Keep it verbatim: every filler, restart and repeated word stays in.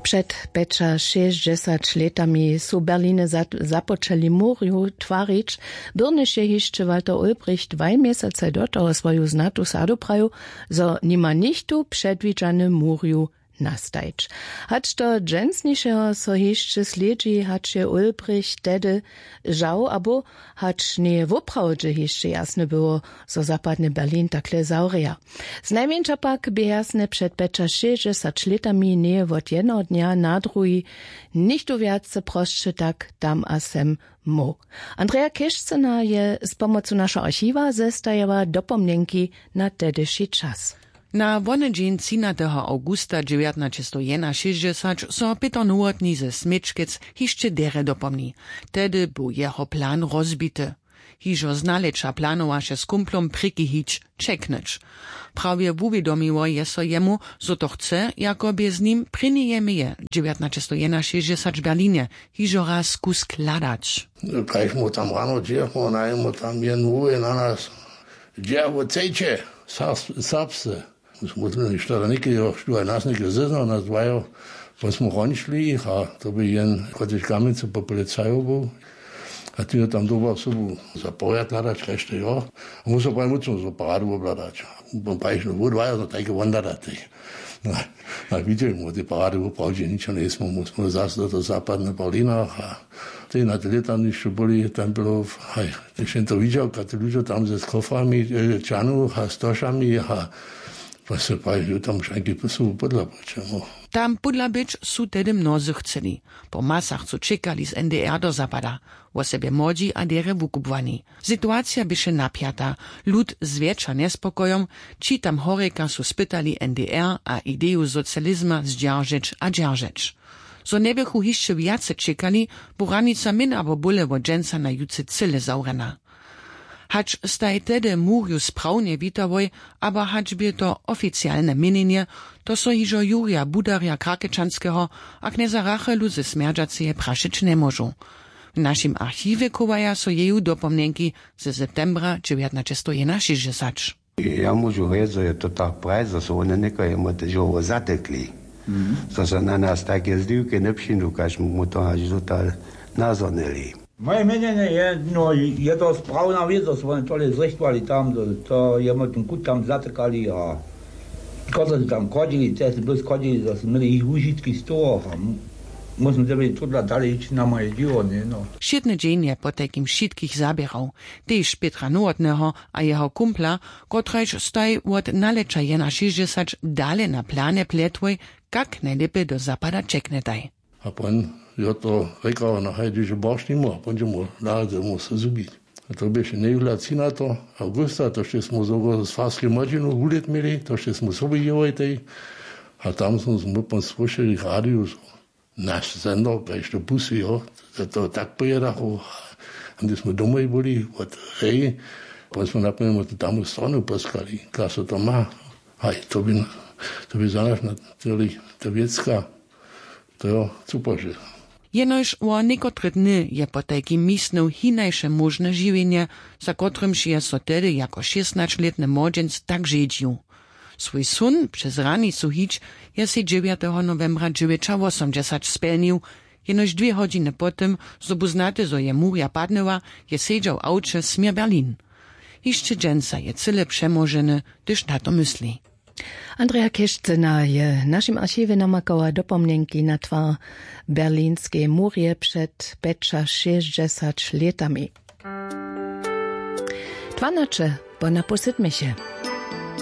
Před pjećašěsćdźesać lětami su w Berlinje započeli murju twarić, byrnjež je hišće Walter Ulbricht dwaj měsacaj do toho swoju znatu sadu prajił, zo nima nichtó předwidźany murju nastajić. Hač do dźensnišeho so hišće slědźi, hač je Ulbricht tehdy žał abo hač njeje woprawdźe hišće jasne było, zo zapadny Berlin takle zawrěja. Znajmjeńša pak bě jasne před pjećašěsćdźesać lětami njeje wot jednoho dnja na druhi nichtó wjace prosće tak tam a sem móhł. Andreja Kěšcyna je z pomocu našeho archiwa zestajała dopomnjenki na tehdyši čas. Na wonedźeń třinateho awgusta dźewjatnaćestow jenašěsćdźesać so pětr nowotny ze směčkec hišće derje dopomni. Tehdy był jeho plan rozbity. Hižo znaleča planowaše z kumplom prěki hić čeknyć. Prawje wuwědomiło je so jemu, zo to chce, jako bě z nim prěnjeje meje dźewjatnaćestow jenašěsćdźesać w Berlinje hižo raz kusk hladać. Kaž mu tam rano dźěchmo najmu tam je nowje na nas. Dźe wót chcejće? Serbsce. Smutno je što da něke jo što je nas něke zeznał nas dwajo. Pon smo hončli a to by jen kotryž kamjencu po policajo był. A ty jo tam doba sobu za porjad hladać kaž to jo. A mu so paj mucno zo paradu obhladać. Pon pajšno wót dwajo no tajke won hladate. A widźeli mu te parady woprawdźe ničo njejsmy mu smo zas do to zapadne berlinach a tej na te lětanišću byli templow. Haj, tež jen to widźał kate ludźo tam ze z koframi, čanu a z tošami a pa se praji tam šanki sobu podla počemu. Tam podla być su tehdy mnozy chceli. Po masach su čekali z ndr do zapada, wosebje młodźi a derje wukubłani. Situacija běše napjata. Lud zwjetša njespokojom. Ći tam horjeka su spytali ndr a ideju socializma zdźeržeć a dźeržeć. Zo njeběchu hišće wjace čekali, bu hranica myn abo bóle wot dźensa na jutře cyle zawrjena. Hač staj tehdy murju sprawnje witałoj, abo hač bě to oficialne měnjenje, to so hižo jurja budarja krakečanskeho a knjeza rachelu ze smjerdźaceje prašeć njemóžu. W našim archiwje chowaja so jeju dopomnjenki ze septembra dźewjatnaćestow jenašěsćdźesać. Ja móžu rjec zo je to tak prajić zo su wone někoho jemu tež howo zatekli, zo su na nas tajke zdiwke njepřińdu kaž mu to haž zo tak nazhonili. Moje měnjenje je no, je to sprawna wěc zo su wone tole zrěchtowali tam, to jemu ten kut tam zatekali a kotrež su tam chodźili te su blós chodźili zo su měli jich wužitki z toho a móžno dyrbi tudla dale hić na moje dźěło njeno. Wšědny dźeń je potajkim wšitkich zaběrał, tež pětra nowotneho a jeho kumpla, kotrajž staj wot nalěća jenašěsćdźesać dale na planje pljetłoj, kak njejlěpje do zapada ćeknjetaj. A pon jo to rjekał no haj dźeže borš nimu a pon dźe mu naradźe mu se zhubić. A to běše njejuhla třinateho awgusta to šće smy z farskej młodźinu wulět měli to šće smy sobu jěłojtej. A tam smy smy pon słyšeli w radiju zo naš sender kaž to pusyjo, to tak pojědachu. A hdy smy domoj byli wot hej, pon smy napomnjemo tu tamu stronu poskali kaž so to ma. Haj, to by za naš na tyrli to wěcka. To jo cupože. Jenož wo někotre dny je potajkim misnył hinajše móžne žiwjenje, za kotrymž je so tehdy jako šěstnaćlětny młodźenc tak žedźił. Swój són přez hranicu hić je sej dźewjateho nowembra dźewjećawosomdźesać spjelnił. Jenož dwě hodźiny po tym zo bu znate zo je murja padnyła, je sedźał w awće směr berlin. Hišće dźensa je cyle přemoženy, hdyž na to mysli. Andreja kěšcyna je w našim archiwje namakała dopomnjenki na twar berlinskej murje před pjećašěsćdźesać lětami. Dwanaće po napoł sydmeše.